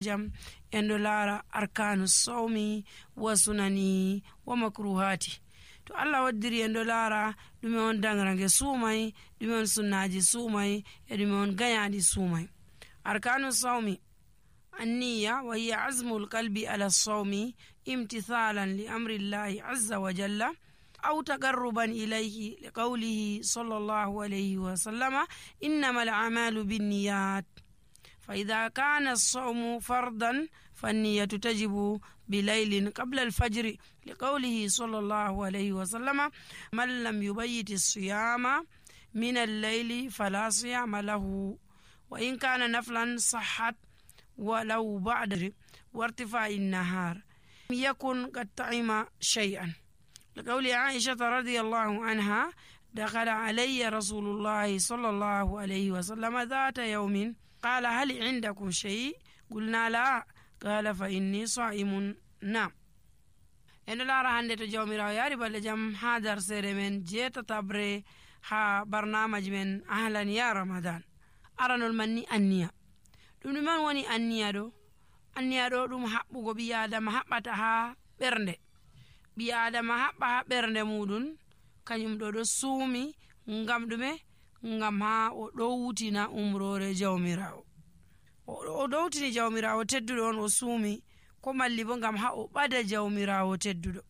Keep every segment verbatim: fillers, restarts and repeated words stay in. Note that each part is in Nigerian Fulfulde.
jam en do lara arkanu sawmi wa sunani wa makruhati. to Allah waddiri en do lara dume on dangrange sumai, dume on sunnaji sumai, e dume on ganyadi sumai. arkanu sawmi النية وهي عزم القلب على الصوم امتثالا لأمر الله عز وجل أو تقربا إليه لقوله صلى الله عليه وسلم إنما الأعمال بالنيات. فإذا كان الصوم فرضا فالنية تجب بليل قبل الفجر لقوله صلى الله عليه وسلم من لم يبيت الصيام من الليل فلا صيام له، وإن كان نفلا صحت ولو بعد وارتفاع النهار يكن قد طعم شيئا لقول عائشة رضي الله عنها دخل علي رسول الله صلى الله عليه وسلم ذات يوم قال هل عندكم شيء؟ قلنا لا، قال فإني صائم. نعم. en lara hande to jawmirawo yari balle jam ha dar sere men jeta tabre ha barnamaji men ahlan ya ramadan. aranol manni anniya ɗum ɗum man woni anniya ɗo anniya ɗo ɗum haɓɓugo ɓi adama haɓɓata ha ɓernde ɓi adama haɓɓa ha ɓernde muɗum kañum ɗo ɗo suumi ngam ɗume ngam ha o ɗowtina umrore jawmirawo o ɗowtini jawmirawo tedduɗo on o suumi ko malli bo ngam ha o ɓada jawmirawo tedduɗo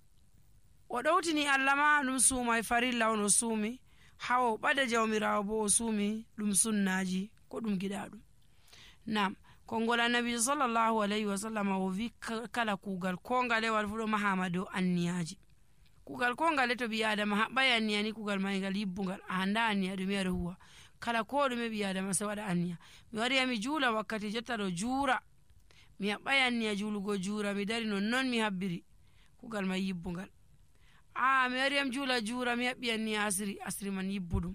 o ɗowtini Allah ma ɗum suumai farilla on o suumi ha o ɓada jawmirawo bo o suumi ɗum sunnaji ko ɗum giɗa ɗum. nam kongol annabi sallallahu alaihi wasallam o vi kala kugal ko ngalewal fu ɗo mahama dow anniyaji. kugal ko ngale to ɓi adama haɓɓai anniya ni kugal mai ngal yibbungal a handa anniya ɗume aɗa huwa kala ko ɗume ɓi adama sai waɗa anniya. mi wari mi juula wakkati jotta ɗo juura mi haɓɓai anniya juulugo juura mi dari non non mi habbiri kugal mai yibbungal. a mi wari am juula juura mi haɓɓi anniya asiri asiri man yibbuɗum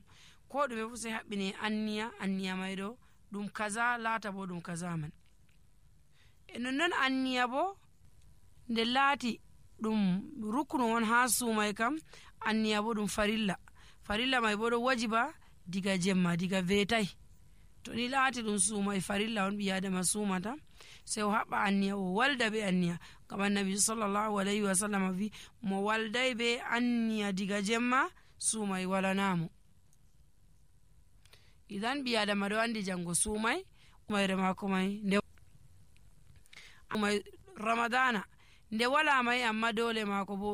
ko ɗume fu sai haɓɓine anniya anniya mai ɗo ɗum kaza laata bo ɗum kaza man. e nonnon anniya bo nde laati ɗum ruknu on ha suumai kam anniya bo ɗum farilla farilla mai bo ɗo wajiba diga jemma diga vetai. to ni laati ɗum suumai farilla on ɓi adama suumata sai o haɓɓa anniya o walda be anniya ngam annabi sallallahu alaihi wasallam vi mo waldai be anniya diga jemma suumai walanamo. idan ɓi adama ɗo andi jango suumai umayre mako mai nde ramadana nde wala mai amma dole mako bo